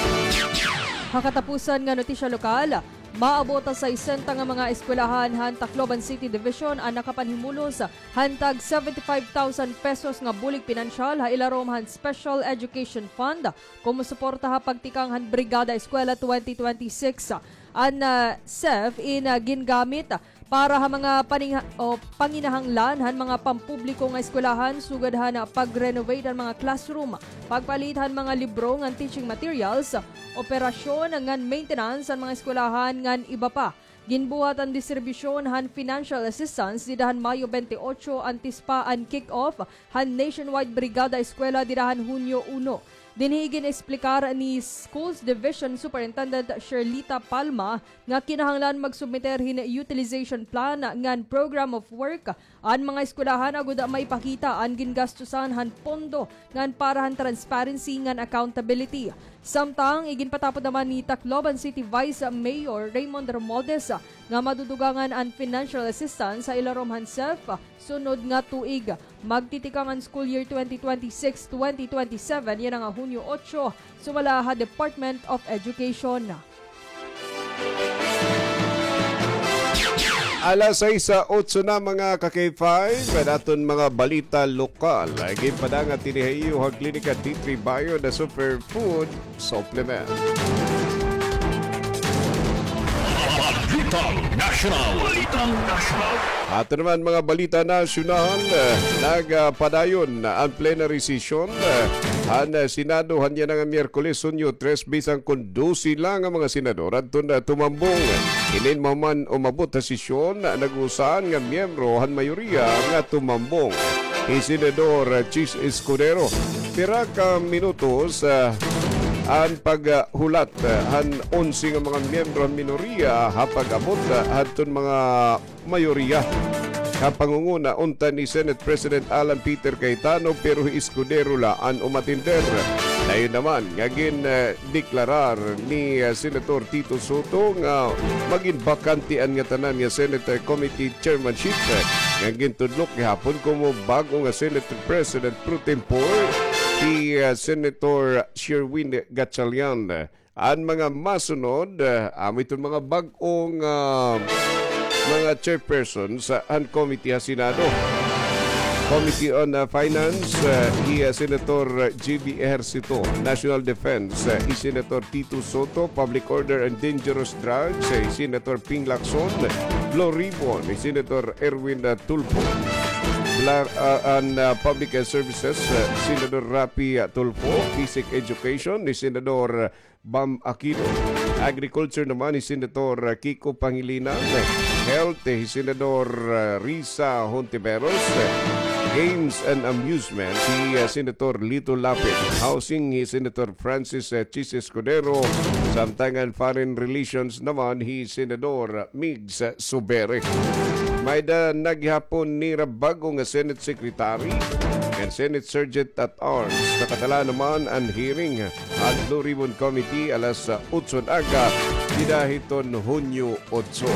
Ha katapusan nga notisya lokal, maabot ha sesenta nga mga eskwelahan han Tacloban City Division an nakapanhimulos han tag seventy-five thousand pesos nga bulig pinansyal ha ilarom han Special Education Fund komo suporta ha pagtikang han Brigada Eskwela twenty twenty-six. An, ah, SEF in, ah, gingamit para ha mga paningha-, o panginahanglan han mga pampubliko nga eskwelahan sugad han pag-renovate han mga classroom, pagpalit han mga libro ngan teaching materials, operasyon ngan maintenance han mga eskwelahan ngan iba pa. Ginbuhat an distribusyon han financial assistance dida han Mayo twenty-eight antes pa an kick-off han nationwide Brigada Eskwela dida han Hunyo uno. Dinhi gin-eksplikar ni Schools Division Superintendent Sherlita Palma nga kinahanglan magsubmiter hin utilization plan ngan program of work an mga eskwelahan agod maipakita an gingastusan han pondo ngan para han transparency ngan accountability. Samtang iginpatapod naman ni Tacloban City Vice Mayor Raymond Romualdez nga madudugangan an financial assistance ha ilarom han SEF sunod nga tuig. Magtitikang an school year twenty twenty-six twenty twenty-seven yana nga Hunyo otso, sumala ha Department of Education. Alas sais otso na, mga ka-K five, an aton mga balita lokal. Ginpadangat ini ha iyo ha Klinika T three Bio, the superfood supplement. Balitang Nasyonal. Balitang Nasyonal. Ato naman mga balita nasyonal, eh, nagpadayon an plenary session, eh, han, eh, Senado han yana nga Miyerkules, Hunyo tres, bisan kon dose la nga mga senador adton, eh, tumambong. Inin mahuman umabot ha sesyon, nag-usa nga miyembro han mayoriya nga tumambong, hi Senador Chiz Escudero. Pira ka minutos, ah, an paghulat, ah, han onse nga mga miyembro han minoriya ha pag-abot, ah, hadton mga mayoriya. Ha pangunguna unta ni Senate President Alan Peter Cayetano, pero hi Escudero la an umatender. Dayon naman nga gin, ah, deklarar ni, ah, Senator Tito Sotto nga magin bakante an ngatanan nga Senate Committee Chairmanship, ah, nga gintudlok gihapon komo bag-o nga Senate President pro tempore, hi, ah, Senator Sherwin Gatchalian. An mga masunod, ah, amo iton mga bag-o nga, ah, mga chairpersons han committee ha Senado. Committee on, uh, Finance, uh, hi, uh, Senator J B Ejercito. National Defense, uh, hi Senator Tito Soto. Public Order and Dangerous Drugs, uh, hi Senator Ping Lacson. Blue Ribbon, hi Senator Erwin, uh, Tulfo. Bla-, uh, and, uh, Public, uh, Services, uh, Senator Raffy, uh, Tulfo. Basic Education, hi Senador, uh, Bam Aquino. Agriculture naman, hi Senator, uh, Kiko Pangilinan. Health, hi Senador, uh, Risa Hontiveros. Games and Amusement, hi, uh, Senator Lito Lapid. Housing, hi Senator Francis, uh, Chiz Escudero. Samtang an Foreign Relations naman, hi Senador Migs Zubiri. May-ada na gihapon nira bag-o nga Senate Secretary and Senate Sergeant at Arms. Nakatala naman an hearing han Blue Ribbon Committee alas, ah, otso han aga, dida hiton Hunyo otso.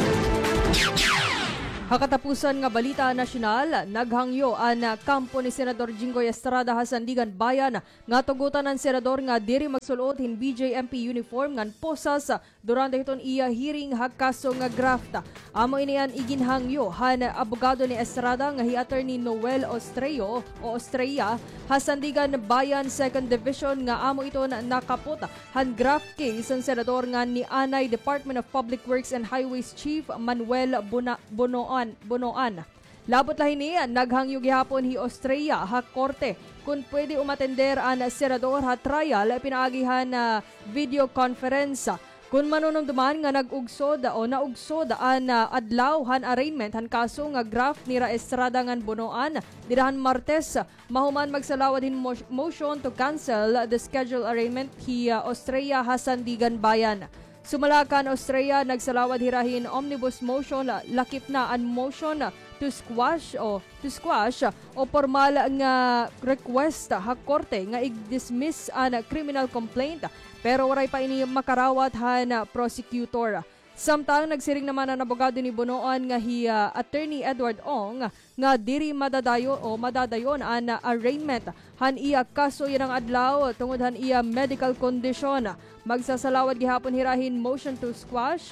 Ha katapusan nga balita nasyonal, naghangyo an, ah, kampo ni Senador Jinggoy Estrada ha Sandiganbayan nga tugotan an senador nga diri magsul-ot hin B J M P uniform ngan posas durante hiton iya hearing ha kaso nga graft. Amo ini an iginhangyo han abogado ni Estrada nga hi Attorney Noel Ostreo o Ostrea ha Sandiganbayan Second Division nga amo iton nakapot han graft case han senador ngan nianay Department of Public Works and Highways Chief Manuel Bona-, Bonoan, Bonoan. Labot la hini, naghangyo gihapon hi Ostrea ha korte kon pwede umatender an senador ha trial pinaagi han, ah, video conference. Kon manunumduman nga nag-ugsod o naugsod an, ah, adlaw han arraignment han kaso nga graft nira Estrada ngan Bonoan dida han Martes, mahuman magsalawad hin mo-, motion to cancel the scheduled arraignment hi, ah, Ostrea ha Sandiganbayan. Sumala kan Ostrea, nagsalawad hira hin omnibus motion, lakip na an motion to squash o to squash o pormal nga request ha korte nga i-dismiss an criminal complaint, pero waray pa ini makarawat han prosecutor. Samtang nagsiring naman an abogado ni Bonoan nga hi, ah, Attorney Edward Ong nga diri madadayo o madadayon an arraignment han iya kaso yana nga adlaw tungod han iya medical condition. Magsasalawad gihapon hira hin motion to squash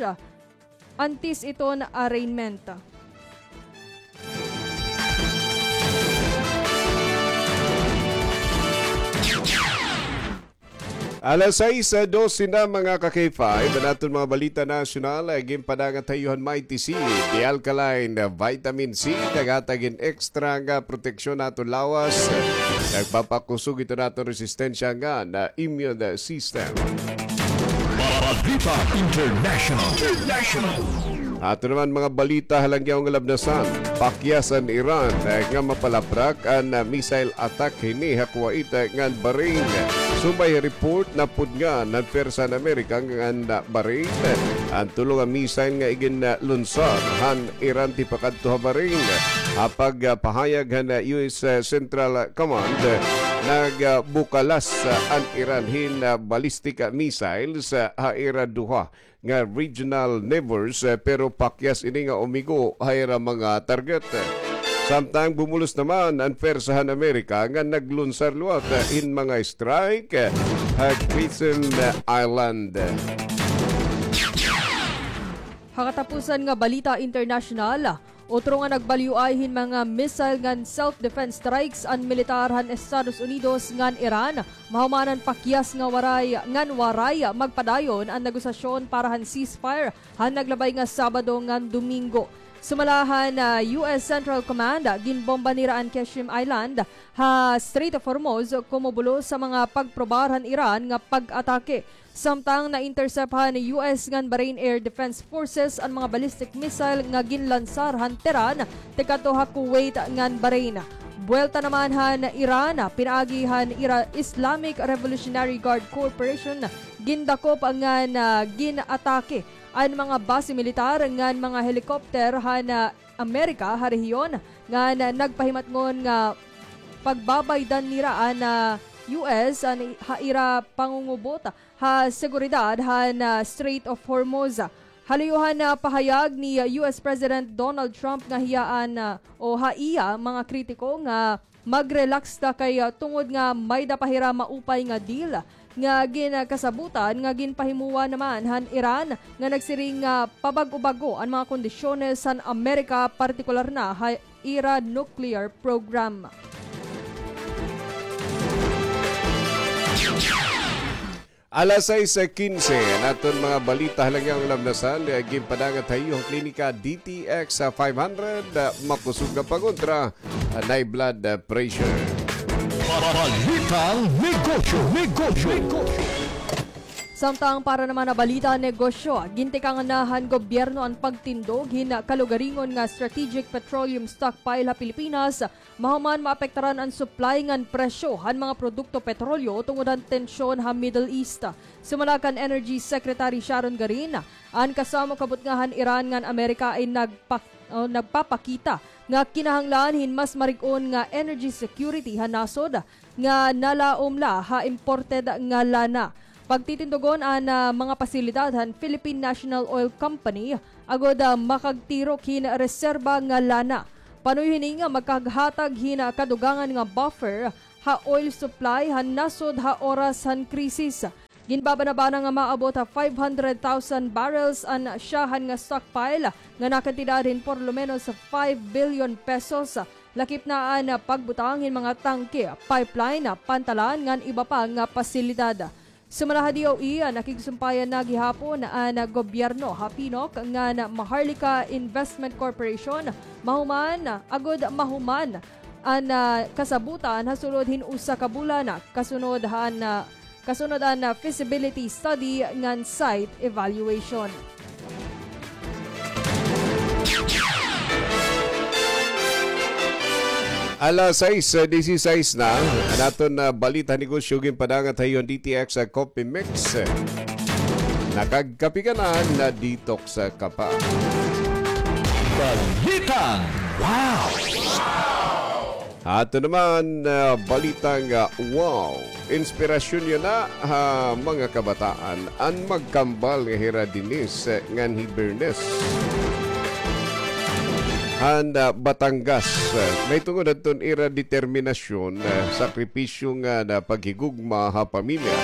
antes iton arraignment. Alas sais, ah, dose na, mga ka-K five. An aton mga balita nasyonal, ah, ginpadangat ha iyo han Mighty C, the alkaline, ah, vitamin C, naghatag hin extra nga proteksyon ha aton lawas. Nagpapakusog ito han aton resistensya ngan immune system. Balita International. International. Ato naman mga balita ha langyaw nga labnasan. Pakyas an Iran, eh, nga mapalaprak an, ah, missile attack hini ha Kuwait, eh, ngan Bahrain. Sumbay ha report, napudngan han pwersa han Amerika ngan, ah, Bahrain, eh, an tulo nga missile nga igin, ah, lunsar han Iran tipakadto ha Bahrain. Ha pagpahayag han, ah, U S, ah, Central Command, eh, nagbukalas, ah, an Iran hin, ah, ballistic, ah, missiles, ah, ha ira duha nga regional neighbors, eh, pero pakyas ini nga umigo ha ira mga target. Samtang bumulos naman an pwersa han Amerika nga naglunsar liwat, eh, hin mga strike, eh, ha Christian Island. Ha katapusan nga balita internasyonal, otro nga nagbalyoay hin mga missile ngan self-defense strikes an militar han Estados Unidos ngan Iran, mahuman an pakyas nga waray, ngan waray magpadayon an negosasyon para han ceasefire han naglabay nga Sabado ngan Domingo. Sumala han, ah, U S Central Command, ginbomba nira an Qeshm Island ha Strait of Hormuz komo bulos sa mga pagprobar han Iran nga pag-atake. Samtang na-intercept han U S ngan Bahrain Air Defense Forces an mga ballistic missile nga ginlansar han Tehran tikadto ha Kuwait ngan Bahrain. Buwelta naman han Iran, pinaagi han ira Islamic Revolutionary Guard Corporation, gindakop ngan, ah, gin-atake an mga base militar ngan mga helicopter han, ah, Amerika ha rehiyon ngan nagpahimatngon nga pagbabaydan nira an, ah, U S an ha ira pangungubot ha seguridad han, ah, Strait of Hormuz. Ha liyo han, ah, pahayag ni, ah, U S President Donald Trump nga hiya an, ah, o ha iya mga kritiko nga mag-relax ta kay, ah, tungod nga may-da pa hira maupay nga deal nga ginkasabutan nga ginpahimuwa naman han Iran nga nagsiring nga pabag-o-bag-o an mga kondisyones han Amerika, partikular na ha ira nuclear program. Alas sais kinse, an aton mga balita ha Lagiang Lamnasan, eh, ginpadangat ha iyo han klinika D T X five hundred, ah, makusog nga pangontra han high blood, ah, pressure. Balitang negosyo, negosyo, negosyo. Samtang para naman ha balita negosyo, gintikangan na han gobyerno an pagtindog hin kalugaringon nga strategic petroleum stockpile ha Pilipinas, mahuman maapektaran an supply ngan presyo han mga produkto petrolyo tungod han tensyon ha Middle East. Sumala kan Energy Secretary Sharon Garin, an kasamok kabutnga han Iran ngan Amerika ay nagpa-, o, nagpapakita nga kinahanglan hin mas marig-on nga energy security han nasod nga nalaom la ha imported nga lana. Pagtitindugon an, ah, mga pasilidad han Philippine National Oil Company agod, ah, makagtirok hin reserba nga lana. Panuyo hini nga makaghatag hin, ah, kadugangan nga buffer ha oil supply han nasod ha oras han krisis. Ginbabanabana nga maabot ha five hundred thousand barrels an syahan nga stockpile nga nakantidad hin por lo menos five billion pesos, lakip na an pagbutang hin mga tangke, pipeline, pantalan ngan iba pa nga pasilidad. Sumala ha D O E, nakigsumpayan na gihapon an gobyerno ha PNOC ngan Maharlika Investment Corporation, mahuman, agod mahuman an, ah, kasabotan ha sulod hin usa ka bulan, kasunod han, ah, kasunod an, ah, feasibility study ngan site evaluation. Alas sais, ah, disisais na. An aton, ah, balita negosyo ginpadangat ha iyo han D T X, ah, Coffee Mix. Nakagkape ka na, na-detox ka pa. Balitang wow! Ato naman, ah, balitang, ah, wow. Inspirasyon yana ha mga kabataan an magkambal nga hira Denise, eh, ngan hi Bernes. Han, ah, Batangas, ah, mahitungod hadton ira determinasyon, ah, sakripisyo ngan paghigugma ha pamilya.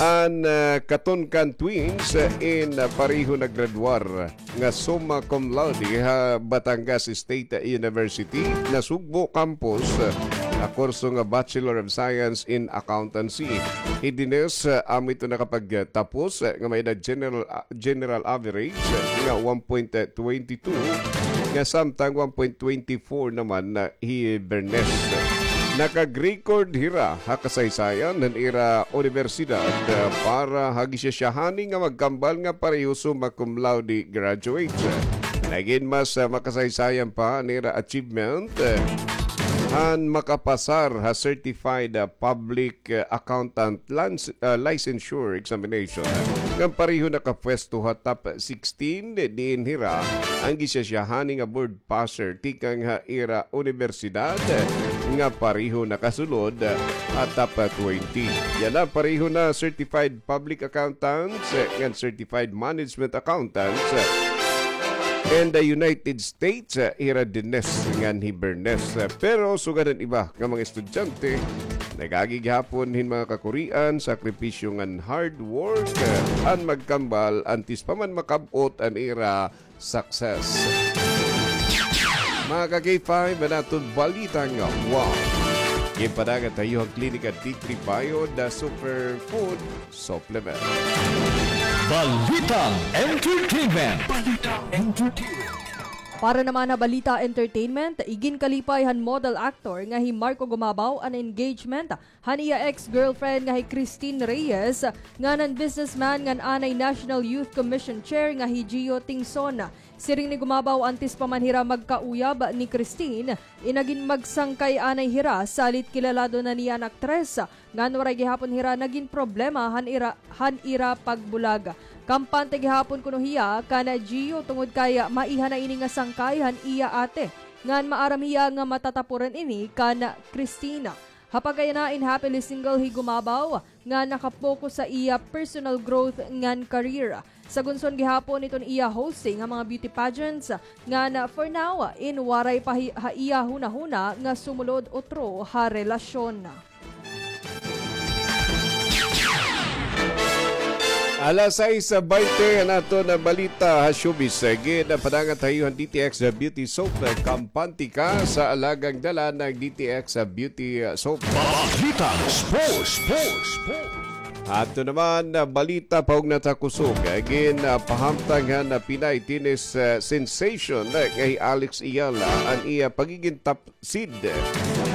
An, ah, Katonkan twins, ah, in, ah, pareho naggraduar nga summa cum laude ha Batangas State University, Nasugbo Campus, ah, ha kurso nga Bachelor of Science in Accountancy. Hi Denise, ah, amo ito nakapagtapos, ah, nga may-ada general, ah, general average, ah, nga one point twenty two, nga samtang one point twenty four naman, ah, hi Bernes. Nakag-record hira ha kasaysayan han ira unibersidad, ah, para ha gisyasyahani nga magkambal nga pareho summa cum laude graduate. Nagin mas, ah, makasaysayan pa an ira achievement, ah, han makapasar ha certified, ah, public, ah, accountant lans-, ah, licensure examination, ah, ngan pareho nakapwesto ha top sixteen, diin hira an gisyasyahani nga board passer tikang ha ira unibersidad nga pareho nakasulod ha top twenty. Yana pareho na certified public accountants ngan certified management accountants in the United States, ira Denise ngan hi Bernes. Pero sugad han iba nga mga estudyante, nag-agi gihapon hin mga kakurian, sakripisyo ngan hard work an magkambal antes pa man makab-ot an ira success. Mga ka-K five, an aton balita nga wow. Ginpadangat ha iyo han Klinika D three Bio, the superfood supplement. Balitang entertainment. Balitang entertainment. Para naman ha balita entertainment, iginkalipay han model actor nga hi Marco Gumabaw an engagement han iya ex-girlfriend nga hi Christine Reyes, ngan han businessman ngan anay National Youth Commission Chair nga hi Gio Tingson. Siring ni Gumabaw, antes pa man hira magkauyab ni Christine, inagin magsangkay anay hira, salit kilalado na niya an aktres, ngan waray gihapon hira nagin problema han ira, han ira pagbulag. Kampante gihapon kuno hiya kan Gio tungod kay maiha na ini nga sangkay han iya ate, ngan maaram hiya nga matatapuran ini kan Christine. Ha pagkayana, in happily single hi Gumabaw nga naka-focus ha iya personal growth ngan career. Sagunson gihapon iton iya hosting ha mga beauty pageants, ngan for now, in waray pa hi-, ha iya hunahuna nga sumulod utro ha relasyon. Alas sais baynte an aton balita ha showbiz. Gin, ah, padangat ha iyo han D T X Beauty Soap. Kampante ka sa alagang dala ng D T X Beauty Soap. Balitang sports, sports, sports. Ato naman, ah, balita pahugnat ha kusog. Gin, ah, pahamtang han, ah, Pinay tennis, ah, sensation, ah, nga hi Alex Eala an iya pagigin top seed.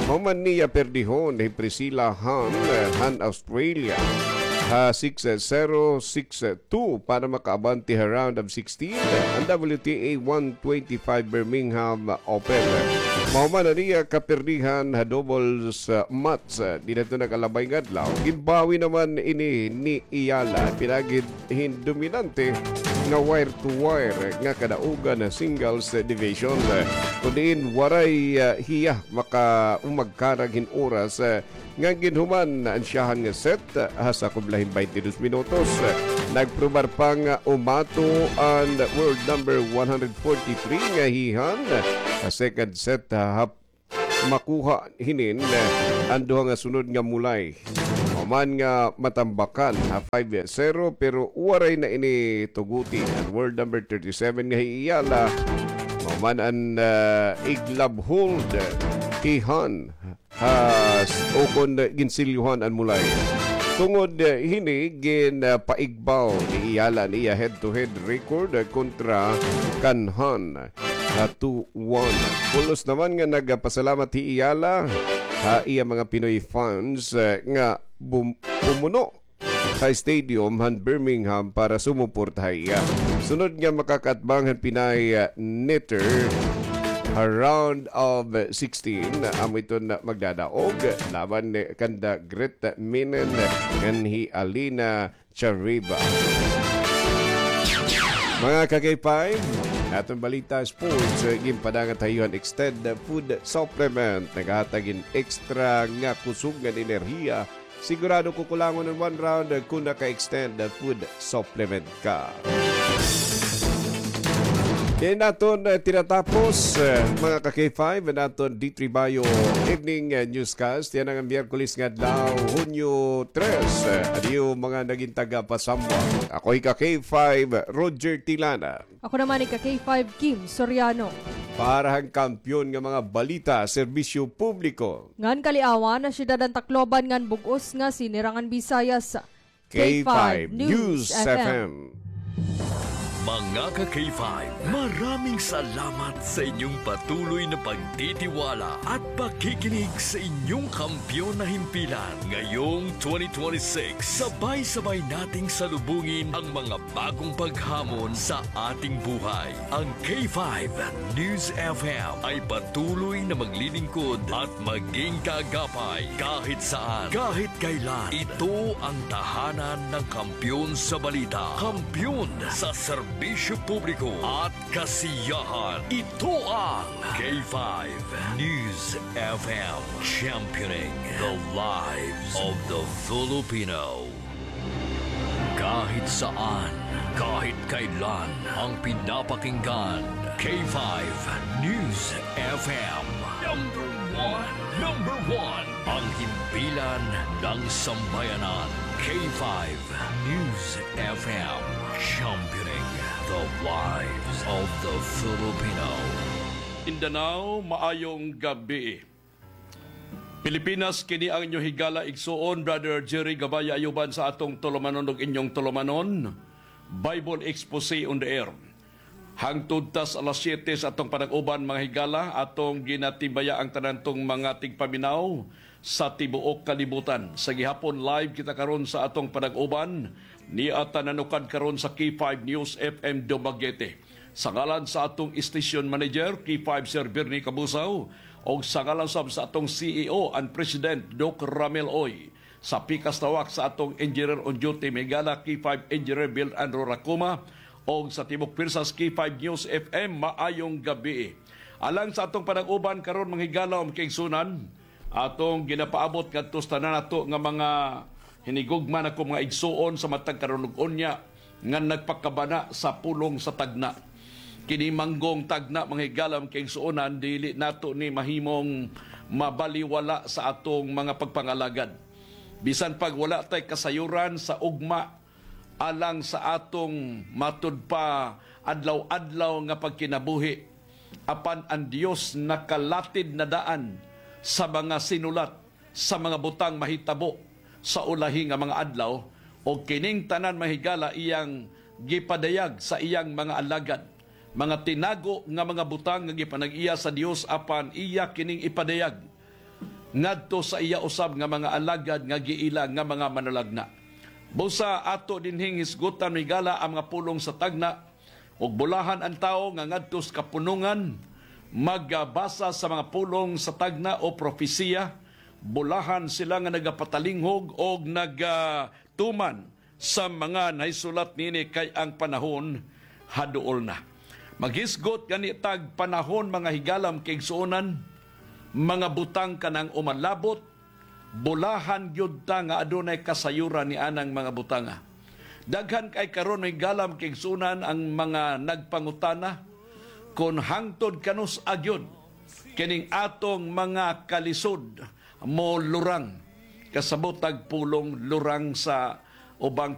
Human niya perdihon hi Priscilla Han, eh, han Australia ha six zero, six two para makaabante ha round of sixteen an W T A one twenty-five Birmingham Open. Mahuman an iya kaperdihan ha doubles, eh, match, eh, dinadto nag-alabay nga adlaw. Ginbawi naman ini ni Eala, pinagid hin dominante nga wire to wire nga kadaugan ha singles division. Kun diin waray, ah, hiya maka-, o magkarag hin oras, ah, nga ginhuman an siyahan nga set, ah, ha sakob la hin baynte dos minutos. Nagprobar pa nga umato an world number one hundred forty-three nga hi Han ha second set, ah, ha makuha hinin, eh, an duha nga sunod nga mulay. Human nga matambakan ha five zero, pero waray na ini tuguti an world number thirty-seven nga hi Eala. Human an, eh, iglab hold, eh, hi Han ha s-, ukon ginsilyohan an mulay. Tungod, eh, hini gin, eh, paigbaw ni Eala an iya head-to-head record, eh, kontra kan Han ha two one. Pulos naman nga nagpasalamat hi Eala ha iya mga Pinoy fans, eh, nga bum-, pumuno ha stadium han Birmingham para sumuporta ha iya. Sunod nga makakaatbang han Pinay, eh, netter ha round of sixteen, amo iton magdadaog laban kanda Greta Menen ngan hi Alina Chariba. Mga ka-K five, aton balita sports, eh, ginpadangat ha iyo han Extend Food Supplement. Naghatag hin extra nga kusog ngan enerhiya. Sigurado kukulangon in one round, eh, kun naka-Extend Food Supplement ka. Kay naton, eh, tinatapos, eh, mga ka-K five, an aton D three Bayo Evening, eh, Newscast. Yana nga Miyerkules nga adlaw, Hunyo tres. Eh, adiyo mga nagin taga-Pasambwa. Ako hi ka-K five, Roger Tilana. Ako naman hi ka-K five, Kim Soriano. Para han kampiyon nga mga balita, serbisyo publiko. Ngan kaliawan, ha syudad han Tacloban ngan bug-os nga Sinirangan Visayas. K five News F M. Mga ka-K five, maraming salamat sa inyong patuloy na pagtitiwala at pakikinig sa inyong kampiyon na himpilan. Ngayong twenty twenty-six, sabay-sabay nating salubungin ang mga bagong paghamon sa ating buhay. Ang K five News F M ay patuloy na maglilingkod at maging kaagapay kahit saan, kahit kailan. Ito ang tahanan ng kampiyon sa balita, kampiyon sa serbisyo publiko at kasiyahan. Ito ang K five News F M, championing the lives of the Filipino. Kahit saan, kahit kailan, ang pinapakinggan, K five News F M. Number one, number one, ang himpilan ng sambayanan, K five News F M, championing the lives of the Filipino. Mindanao, maayong gabii. Pilipinas, kini ang inyo higala, igsuon, Brother Jerry Gabaya Ayuban sa atong tulumanon ug inyong tulumanon. Bible Exposé on the Air. Hangtod tas alas siyete sa atong panag-uban, mga higala, atong ginatimbaya ang tanan tong mga tigpaminaw sa tibuok kalibutan. Sa gihapon, live kita karon sa atong panag-uban. Nia ta nanukad karon sa K five News F M Dumaguete. Sa ngalan sa atong station manager, K five Sir Bernie Cabusao, ug sa ngalan sab sa atong C E O and President, Doc Ramel Oy, sa pikas tawak sa atong engineer on duty, mga higala, K five Engineer Bill Andrew Racuma, ug sa tibuok pwersa sa K five News F M, maayong gabii. Alang sa atong panag-uban karon, mga higala, mga kaigsunan, atong ginapaabot ngadto sa tanan nato nga mga hinigugma, ako mga igsuon, sa matag karon ug unya nga nagpakabana sa pulong sa tagna. Kini manggong tagna, mga higala, mga kaigsuonan, dili nato ni mahimong mabaliwala sa atong mga pagpangalagad. Bisan pag wala tay kasayuran sa ugma, alang sa atong matud pa adlaw-adlaw nga pagkinabuhi. Apan an Dios nakalatid na daan sa mga sinulat, sa mga butang mahitabo sa ulahi nga mga adlaw, o kining tanan, mga higala, iyang gipadayag sa iyang mga alagad. Mga tinago nga mga butang nga gipanag-iya sa Dios, apan iya kining ipadayag ngadto sa iya usab nga mga alagad nga giila nga mga manulagna. Busa ato dinhing hisgutan, mga higala, ang mga pulong sa tagna, ug bulahan ang tawo nga ngadto sa kapunongan, magbasa sa mga pulong sa tagna o propesiya. Bulahan sila nga nagapatalinghog og nagatuman sa mga nahisulat nini, kay ang panahon haduol na. Maghisgot gani tag panahon, mga higala, mga kaigsuonan, mga butang kanang umalabot, bulahan gyud ta nga adunay kasayuran ni anang mga butanga. Daghan kay karon, mga higala, mga kaigsuonan, ang mga nagpangutana kon hangtod kanus-a gyud kining atong mga kalisod molurang, kasabot tag pulong lurang sa ubang